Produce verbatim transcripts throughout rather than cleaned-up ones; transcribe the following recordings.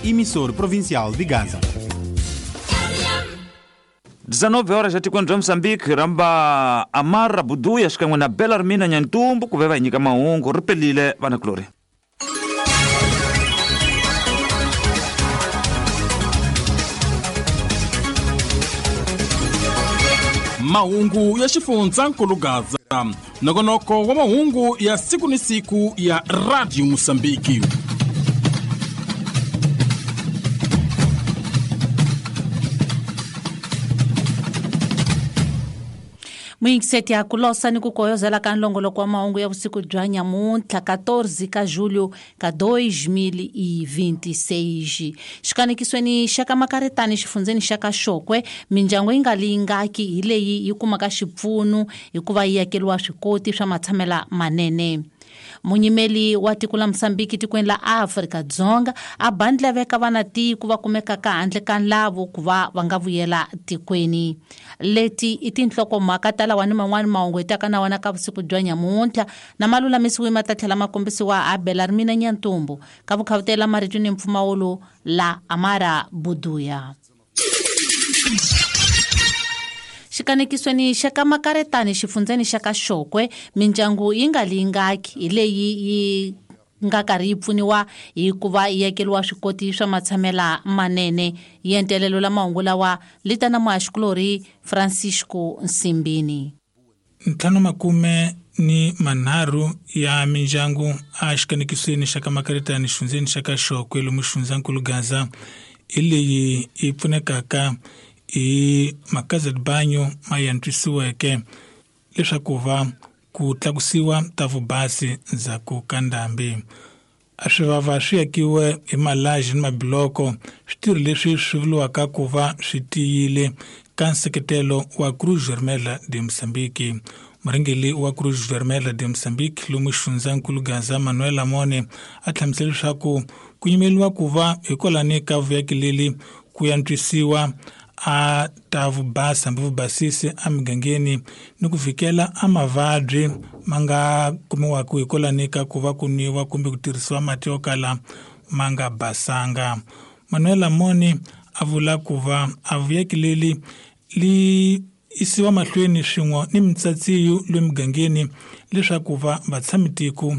Emissor Provincial de Gaza. dezenove horas etikweni bya Mozambique ramba Amara Buduya xikan'we na Belarmina Nyantumbu ku ve va hi nyika mahungu ri pelile vanakulori. Mahungu ya xifundzankulu Gaza, nongonoko wa mahungu ya siku ni siku ya Radio Mozambique. Muyingiseti ya kulosa ni ku koyozela ka nlongoloko wa mahungu ya vusiku bya nyamuntlha quatorze ka julho ka dois mil e vinte e seis. Xikanekisweni xa ka Makaretani xifundzeni xa ka Xokwe, mindyangu yi nga lingaki hi leyi yi kumaka xipfuno hikuva yi akeriwa swikoti swa matshamela manene. Munyimeli wa tiko la Mozambique tikweni la Afrika Dzonga a bandleveka vana tiko va kumekaka handle ka nlavo ku va va nga vuyela tikweni. Leti i tinhlokomhaka ta lawa ni man'wani mahungu hi taka na wona ka vusiku bya nyamuntlha na malulamisiwi ma ta tlhela ma kombisiwa a Belarmina Nyantumbu ka vukhavutela marito ni mpfumawulo la Amara Buduya. Xikanekisweni xa ka Makaretani xifundzeni xa ka Xokwe, mindyangu yi nga lingaki hi leyi yi nga karhi yi pfuniwa hikuva yi akeriwa swikoti swa matshamela manene. Yentelelo la mahungu lawa li ta na muhaxikulorhi Francisco Nsimbini. Ntlhanu makume ni manharhu ya mindyangu a xikanekisweni xa ka Makaretani xifundzeni xa ka Xokwe lomu xifundzankulu Gaza hi leyi yi pfunekaka hi makaza de banyo ma yantswisiweke leswaku va ku tlakusiwa ta vubasi ndzhaku ka ndhambi. A swivava swi akiwe hi malaji ni mabiloko, switirho leswi swi vuriwaka ku va swi tiyile ka nseketelo wa Cruz Vermelha de Mozambique. Murhangeri wa Cruz Vermelha de Mozambique lomu xifundzankulu Gaza Manuel Amone a hlamusela leswaku ku yimeriwa ku va hikwalani ka vuyaki leli ku yantswisiwa a ta vubasa hambi vubasisi emigangeni ni ku fikela a mavabyi ma nga kumiwaka hikwalani ka ku va ku nwiwa kumbe ku tirhisiwa mati yo kala ma nga basanga. Manuel Amone a vula ku va a vuyaki leli li isiwa mahlweni swin'we ni mitsatsiyo le migangeni leswaku va vatshamitiko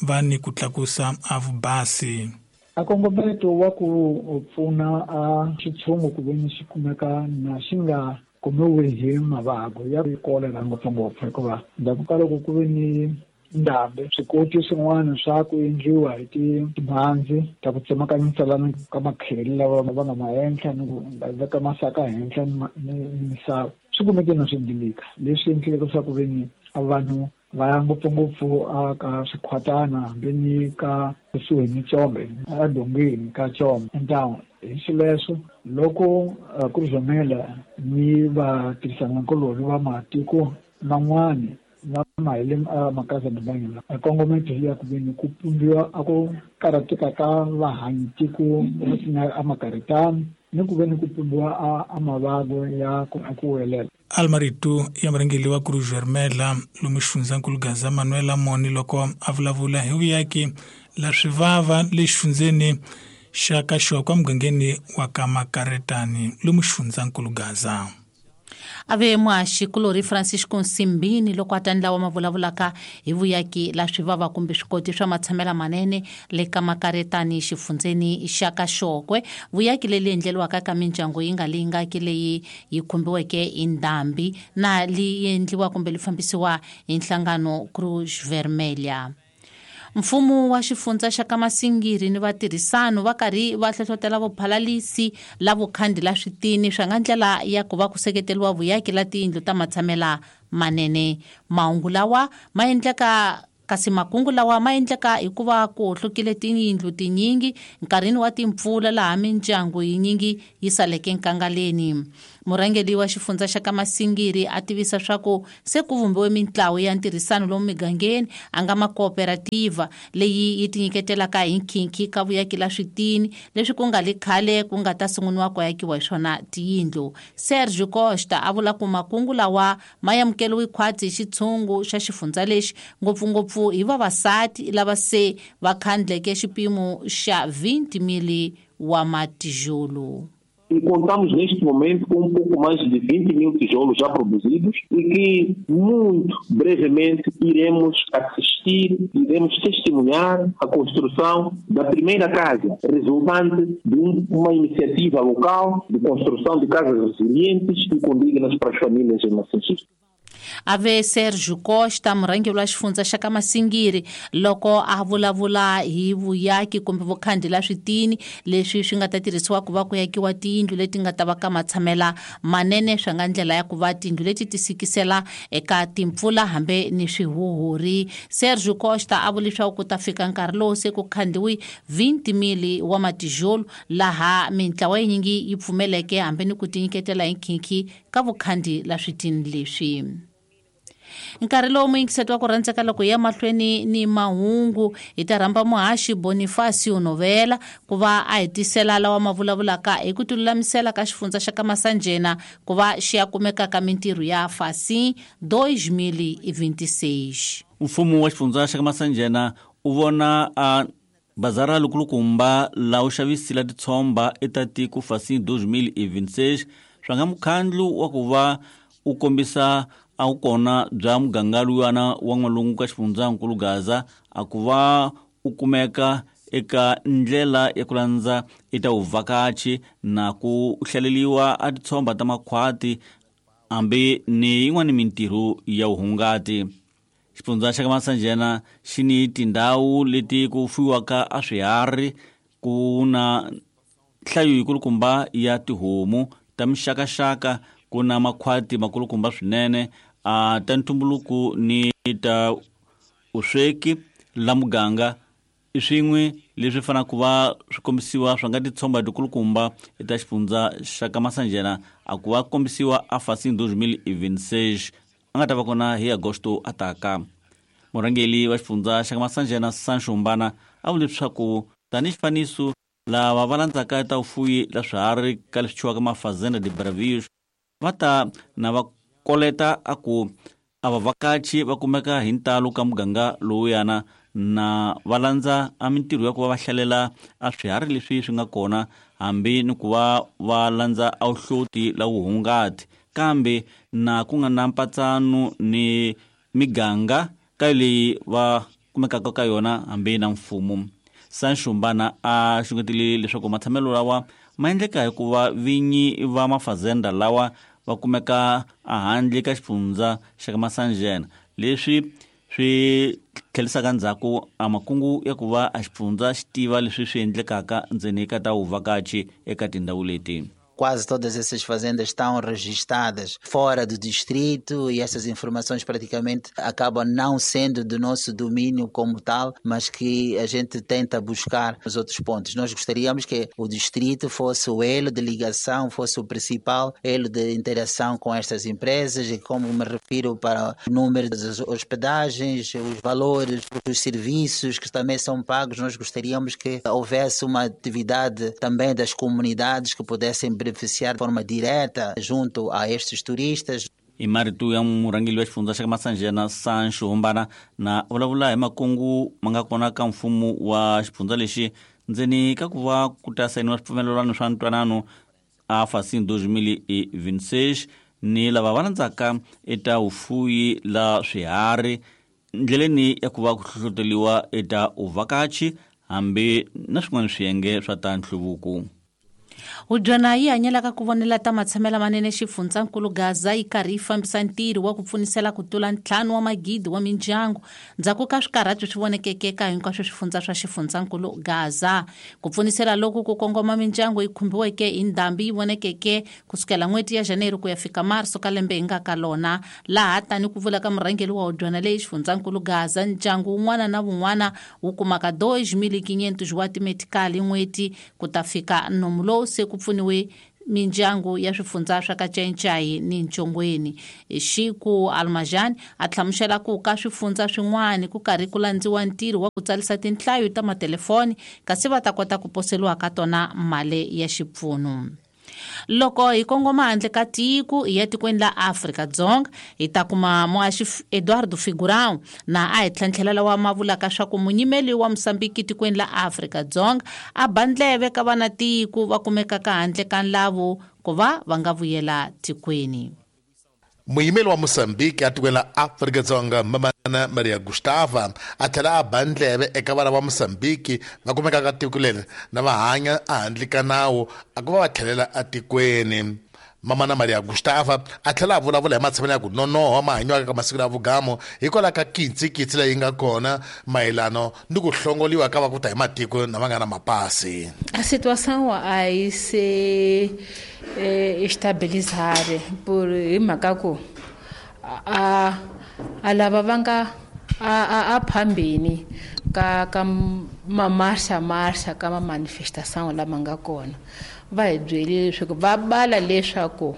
va ni ku tlakusa a vubasi. A kongometo wa ku pfuna a xitshungu ku veni xi kumeka na xi nga kumiwi hi mavabyi ya kolera ngopfungopfu, hikuva ndzhaku ka loko ku ve ni ndhambi swikoti swin'wana swa ku endliwa hi timhandzi ta ku tsemakanyisa ka makheli lava va nga ma henhla ni ku veka masaka henhla ni misava swi kumeke na swi dilika, leswi endleke leswaku ve ni vanhu va ya ngopfungopfu a ka swikhwatana hambi ni ka kusuhi ni Chombe edongeni ka Chombe town. Hi xileswo loko Cruz Vermelha ni vatirhisanakulorhi va matiko man'wani va mahele makaza de banyo la kongometo ya ku veni ku pumbiwa a ku karhateka ka vahanyi tiko a Makaretani ni ku veni ku pumbiwa a mavabyi ya ku welela. Almarito ya murhangeri wa Cruz Vermelha lomu xifundzankulu Gaza Manuel Amone loko a vulavula hi vuyaki la swivava le xifundzeni xa ka Xokwe emugangeni wa ka Makaretani lomu xifundzankulu Gaza. Ave muhaxikulorhi Francisco Nsimbini loko a ta ndlawa ma vulavulaka hi vuyaki la swivava kumbe swikoti swa matshamela manene le ka Makaretani xifundzeni xa ka Xokwe. Vuyaki leli endleriwaka ka mindyangu yi nga lingaki leyi yi khumbiweke hi ndhambi na li endliwa kumbe li fambisiwa hi nhlangano Cruz Vermelha. Mfumo wa xifundza xa ka Masingiri ni vatirhisano va karhi va hlohlotela vuphalalisi la vukhandi la switini swa nga ndlela ya ku va ku seketeriwa vuyaki la tiyindlu ta matshamela manene. Mahungu lawa ma endleka kasi makungu lawa ma endleka hikuva ku hlukile tiyindlu tinyingi nkarhini wa timpfula laha mindyangu yinyingi yi saleke nkangaleni. Murhangeri wa xifundza xa ka Masingiri a tivisa swa ku se ku vumbiwe mintlawa ya ntirhisano lomu migangeni a nga makooperativa leyi yi tinyiketelaka hi nkhinkhi ka vuyaki la switini leswi ku nga le khale ku nga ta sunguriwa ku akiwa hi swona tiyindlu. Sergio Costa a vula ku makungu lawa ma amukeriwe khwatsi hi xitshungu xa xifundza lexi ngopfungopfu hi vavasati lava se va khandleke xipimo xa vinte mil wa matijolo. E contamos neste momento com um pouco mais de vinte mil tijolos já produzidos e que muito brevemente iremos assistir, iremos testemunhar a construção da primeira casa, resultante de uma iniciativa local de construção de casas resilientes e condignas para as famílias em Massingir. Ave Sérgio Costa murhangeri wa xifundza xa ka Masingiri loko a vulavula hi vuyaki kumbe vukhandi la switini leswi swi nga ta tirhisiwa ku va ku yakiwa tiyindlu leti nga ta va ka matshamela manene swa nga ndlela ya ku va tiyindlu leti ti sikisela eka timpfula hambe ni swihuhuri. Sérgio Costa a vula leswaku ku ta fika nkarhi lowu se ku khandiwi vinte mil wa matijolo laha mintlawa yinyingi yi pfumeleke hambe ni ku tinyiketela hi nkhinkhi ka vukhandi la switini leswi. Nkarhi lowu muyingiseti wa ku rhandzeka loko ya mahlweni ni mahungu hi ta rhamba muhaxi Bonifacio Novela ku va a hetisela lawa ma vulavulaka hi ku tilulamisela ka xifundza xa ka Masanjena ku va xi ya kumeka ka mintirho ya Facim dois mil e vinte e seis. Mfumo wa xifundza xa ka Masanjena u vona a bazara lukulukumba la u xavisila titshomba eta tiko Facim dois mil e vinte e seis swa nga mukhandlu wa ku va u kombisa a wu kona bya muganga luyana wa n'walungu ka xifundzankulu Gaza a ku va u kumeka eka ndlela ya ku landza eka vuvhakachi na ku hlaleliwa a titshomba ta makhwati hambi ni yin'wana mintirho ya vuhungati. Xifundza xa ka Masanjena xi ni tindhawu leti ku fuyiwaka a swiharhi ku na nhlayo yikulukumba ya tihomu ta mixakaxaka ku na makhwati makulukumba swinene a ta ntumbuluko ni ta usweki la muganga i swin'we leswi fanaka ku va swi kombisiwa swa nga titshomba tikulukumba eka xifundza xa ka Masanjena a ku va kombisiwa a Facim dois mil e vinte e seis a nga ta va kona hi agosto a taka. Murhangeri wa xifundza xa ka Masanjena Sancho Mbana a vule leswaku tanihi xifaniso lava va landzaka ta vufuyi la swiharhi ka leswi thyiwaka mafazenda de Bravios va ta na va koleta a ku a vavhakachi va kumeka hi ntalo ka muganga lowuyana na va landza a mintirho ya ku va va hlalela a swiharhi leswi swi nga kona hambi ni ku va va landza a vuhloti la vuhungati kambe na ku nga na mpatsano ni miganga ka leyi va kumekaka ka yona hambi na mfumo. Sancho Mbana a xungetile leswaku matshamelo lawa ma endleka hikuva vinyi va mafazenda lawa va kumeka ehandle ka xifundza xa ka Masanjena leswi swi tlhelisaka ndzhaku a makungu ya ku va a xifundza xi tiva leswi swi endlekaka ndzeni ka ta vuvhakachi eka tindhawu leti. Quase todas essas fazendas estão registradas fora do distrito e essas informações praticamente acabam não sendo do nosso domínio como tal, mas que a gente tenta buscar nos outros pontos. Nós gostaríamos que o distrito fosse o elo de ligação, fosse o principal elo de interação com estas empresas e, como me refiro, para o número das hospedagens, os valores, os serviços que também são pagos. Nós gostaríamos que houvesse uma atividade também das comunidades que pudessem beneficiar de forma direta junto a estes turistas. I marito ya murhangeri wa xifundza xa ka Masanjena Sancho Mbana na vulavula hi makungu ma nga kona ka mfumo wa xifundza lexi ndzeni ka ku va ku ta sayiniwa swipfumelelwano swa ntwanano a Facim dois mil e vinte e seis ni lava va landzaka eta vufuyi la swiharhi ndleleni ya ku va ku hlohloteriwa eta uvhakachi hambi na swin'wana swiyenge swa ta nhluvuko. Hudyana yi hanyelaka ku vonela ta matshamela manene xifundzankulu Gaza yi karhi yi fambisa ntirho wa ku pfunisela ku tlula ntlhanu wa magidi wa mindyangu ndzhaku ka swikarhato swi vonekeke eka hinkwaswo swifundza swa xifundzankulu Gaza. Ku pfunisela loku ku kongoma mindyangu yi khumbiweke hi ndhambi yi vonekeke kusukela n'hweti ya January ku ya fika Marso ka lembe hi nga ka lona, laha tani ku vula ka murhangeri wa hudyana leyi xifundzankulu Gaza ndyangu wun'wana na wun'wana wu kumaka dois mil quinhentos wa timetikali n'hweti ku ta fika nomu lowu se ku pfuniwe mindyangu ya swifundza swa ka Nchenchai ni Ntshongweni. Xiku Almajani a hlamusela ku ka swifundza swin'wana ku karhi ku landziwa ntirho wa ku tsarisa tinhlayo ta matelefoni kasi va ta kota ku poseliwa ka tona mali ya xipfuno. Loko hi kongoma handle ka tiko hi ya tikweni la Afrika-Dzonga hi ta kuma muhaxi Eduardo Figurão na a hi tlhantlhela lawa ma vulaka swa ku munyimeli wa Mosambiki tikweni la Afrika-Dzonga a ba ndleve ka vana tiko va kumekaka handle ka nlavu ku va va nga vuyela tikweni. Muyimeli wa Mosambiki a tikweni la Afrika-Dzonga Mamana Maria Gustava a tlhela a ba ndleve eka vana va Mosambiki va kumekaka tiko leri na va hanya ehandle ka nawu a ku va va tlhelela etikweni. Mamana Maria Gustava a tlhela a vulavula hi matshamelo ya ku nonoha ma hanyiwaka ka masiku ya vugamo hikwalaho ka kitsikitsi leyi nga kona mayelano ni ku hlongoliwa ka va ku ta hi matiko na va nga na mapasi. A situação a yi se estabilizar por hi mhaka ku a a lava va nga a a a phambeni ka ka mamarxa marxa ka ma manifestação lama nga kona va hi byele leswaku va bala leswaku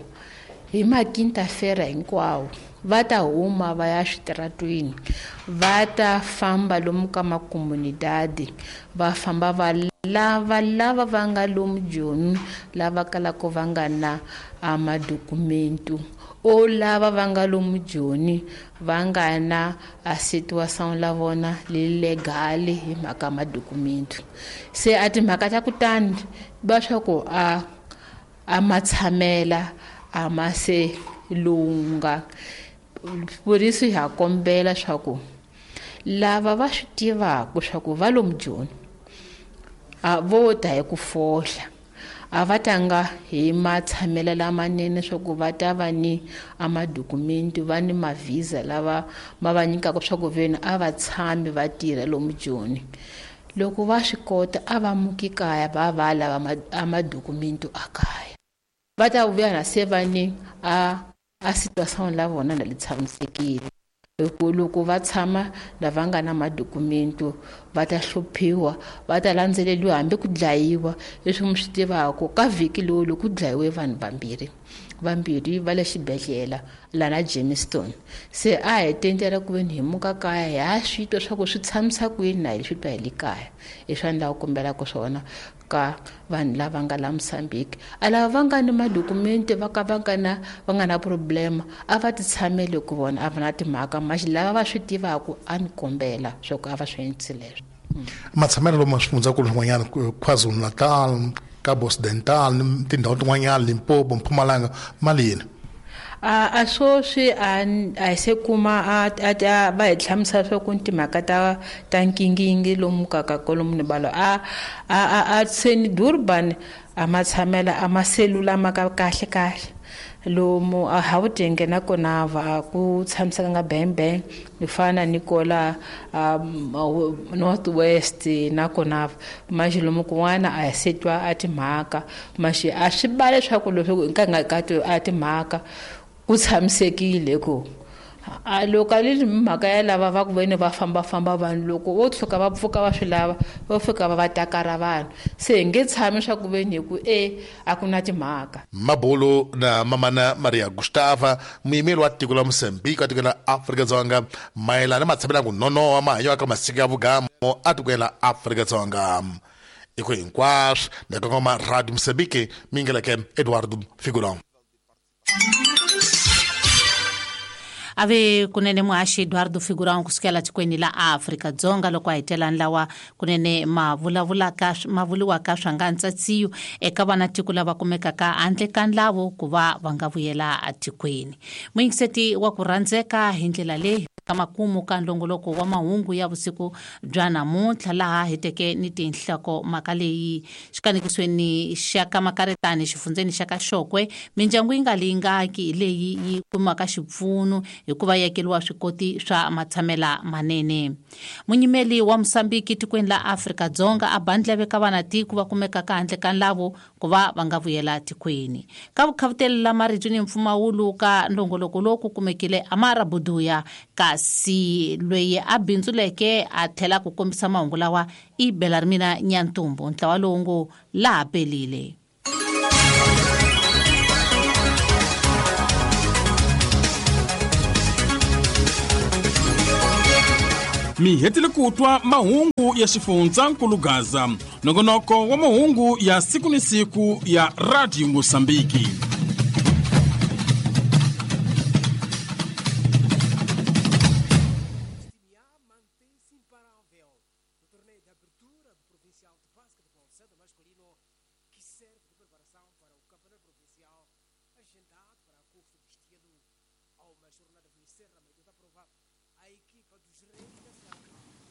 hi maquinta-feira hinkwawo va ta huma va ya switaratwini va ta famba lomu ka makomunidadi va famba va lava lava va nga lomu Joni lava kalaka va nga na madokumentu o lava va nga lomu Joni va nga na a situação la vona legal hi mhaka madokumentu se a timhaka ta kutani va swa ku a a matshamela a ma se lunga por isso ha kombela swa ku lava va swi tivaka swa ku va lomu Joni a vo ta hi ku fohla a va tanga hi matshamelo lamanene swa ku va ta va ni a madokumenti va ni mavhiza lava ma va nyikaka swa ku veni a va tshami va tirha lomu Joni loko va swi kota a va muki kaya va va lava a madokumenti a kaya va ta vuya na se va ni a a situação la vona na li tshamisekile hi loko va tshama lava nga na madokumento va ta hluphiwa va ta landzeleriwa hambi ku dlayiwa leswi mi swi tivaka ka vhiki lowu loko ku dlayiwe vanhu vambirhi vambirhi va le xibedhlele lana Jamestown se a hi tendela ku veni hi muka kaya hi ha swi twa swa ku swi tshamisa ku yini na hi swi twa hi le kaya hi swa ni lava ku kombelaka swona ka vanhu lava nga la Mozambique a lava va nga ni madokumenti va ka va nga na va nga na problema a va ti tshamele ku vona a va na timhaka maxi lava va swi tivaka a ni kombela swa ku a va swi endlisi leswo. Matshamelo lomu swifundzakulu swin'wanyana KwaZulu-Natal, Cabo Occidental, tindhawu tin'wanyana Limpopo, Mpumalanga ma lini? A a swoswi a a se kuma a a va hi hlamusela swa ku timhaka ta ta nkingingi lomu ka ka kolomu ni balo a a a a seni Durban a matshamela a maselula ma ka kahle kahle lomu a Gauteng na kona va ku tshamiseka nga bang bang ni fana ni kola North West na kona maxi lomu kun'wana a se twa a timhaka maxi a swi bale swa ku leswi ka nga ka a timhaka ku tshamisekile ku a loko a li mhaka ya lava va ku veni va fambafamba vanhu loko vo tshuka va pfuka va swi lava va fika va va takara vanhu se hi nge tshami swa ku veni hi ku e a ku na timhaka. Mabulu na Mamana Maria Gustava muyimeli wa tiko la Mozambique wa tiko la Afrika-Dzonga mayelana matshamelo ya ku nonoha ma hanyiwaka masiku ya vugamo a tikweni la Afrika-Dzonga. I ku hinkwaswo na kongoma Radio Mozambique mingeleke Eduardo Figurão. Ave kunene muhaxi Eduardo Figurão kusukela tikweni la Afrika-Dzonga loko a hetelani lawa kunene ma vulavulaka ma vuliwaka swa nga ntsatsiyo eka vana tiko lava kumekaka handle ka nlavu ku va va nga vuyela etikweni. Muyingiseti wa ku rhandzeka hi ndlela leyi ka makumu ka ndlongoloko wa mahungu ya vusiku bya namuntlha laha hi teke ni tinhloko mhaka leyi xikanikisweni xa ka Makaretani xifundzeni xa ka Xokwe mindyangu yi nga lingaki leyi yi kumaka xipfuno hikuva yi akeriwa swikoti swa matshamela manene. Munyimeli wa Mosambiki tikweni la Afrika-Dzonga a ba ndleve ka vana tiko va kumekaka handle ka nlavu ku va va nga vuyela tikweni. Ka vukhavuteli la marito ni mpfumawulo ka ndlongoloko lowu ku kumekile Amara Buduya kasi loyi a bindzuleke a tlhela ku kombisa mahungu lawa i Belarmina Nyantumbu ntlawa lowu ngo laha pelile. Mi hetile ku twa mahungu ya xifundzankulu Gaza, nongonoko wa mahungu ya siku ni siku ya Radio Mosambiki.